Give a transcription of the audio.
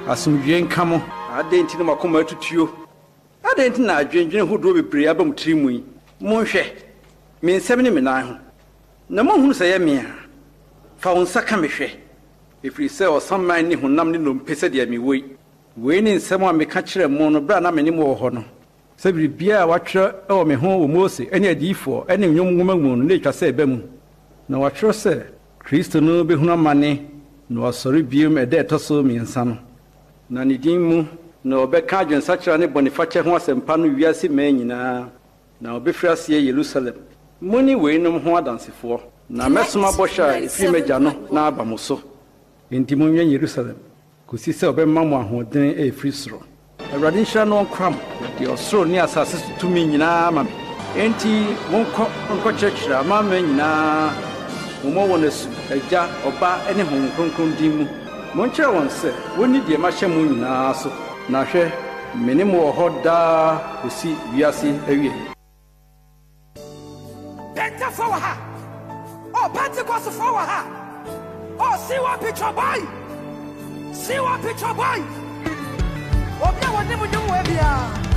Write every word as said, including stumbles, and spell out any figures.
Asomdwie nka mo. Adɛn nti na mo akoma atutuo? Adɛn nti na adwendwene hodoɔ bebree aba mo tiri mu yi? Monhwɛ me nsam ne me nan ho, na monhunu sɛ ɛyɛ me a. Fa wo nsa ka me hwɛ, ɛfiri sɛ ɔsaman nni honam ne nnompe sɛdeɛ mewɔ yi. Wei ne nsɛm a meka kyerɛɛ mo no berɛ a na me ne mo wɔ hɔ no, sɛ biribiara a wɔatwerɛ wɔ me ho wɔ Mose ne adiyifoɔ ne Nnwom nwoma mu no na ɛtwa sɛ ɛba mu. Na wɔatwerɛ sɛ Kristo no bɛhunu amane na wasɔre bio ɛda a ɛtɔ so mmiɛnsa no. Na ne din mu na wɔbɛka adwensakyera ne bɔnefakyɛ ho asɛmpa no wiase mmaa nyinaa, na wɔbɛfiri aseɛ Yerusalem. Mo ne weinom ho adansefoɔ. Na mɛsoma bɔhyɛ a ɛfiri m'agya no na aba mo so. Enti monwɛn Yerusalem, kɔsi sɛ ɔbɛma mo ahoɔden a ɛfiri soro. Awurade nhyira no ɔnkora mo. Ɔde ɔsoro ne asase so tumi nyinaa ama me. Enti monkɔ nkɔkyerɛkyerɛ amanaman nyinaa. Mommɔ wɔn asu, Agya, Ɔba ne Honhom Kronkron din mu. Monkyerɛ wɔn sɛ wonni deɛ mahyɛ mo nyinaa so. Na hwɛ, me ne mo wɔ hɔ daa kɔsi wiase awiei. Pentefoɔ wɔ ha. Oh, Pentecostfoɔ wɔ ha. Oh, see one picture boy. See one picture boy. Obi a wɔnim nnwom wɔ biara.